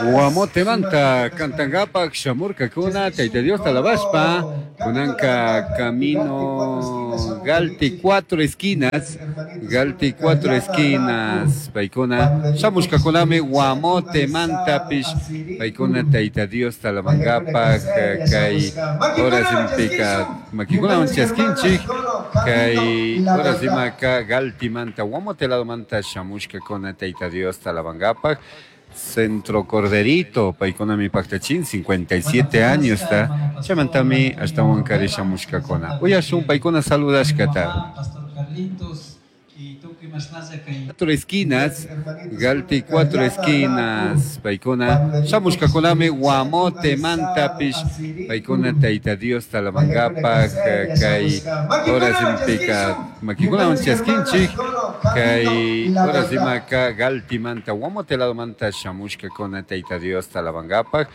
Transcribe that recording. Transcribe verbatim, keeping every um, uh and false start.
Guamotemanta cantangapak shamurkakuna Tayta Diosta alabashpa kunanka camino Galti cuatro esquinas Galti cuatro esquinas paykuna shamushkakunami Guamotemantapish paykuna Tayta Diosta alabangapak kay horas makikunawan chaskinchik kay horas imaka Galtimanta Guamote ladomanta shamushkakuna Tayta Diosta alabangapak Centro Corderito, paykunami paktachin cincuenta y siete años ta chaymantami ashtawankari shamushkakuna. Uyashun paykuna saludashkata. Pastor Carlitos y tukuy mashnalla kay Cuatro esquinas, Galti cuatro esquinas, paykuna shamushkakunami Guamotemantapish paykuna Tayta Diosta alabangapak kay horas impika makikunawan chaskinchik kay horas imaka Galtimanta Guamote ladomanta shamushkakuna Tayta Diosta alabangapak.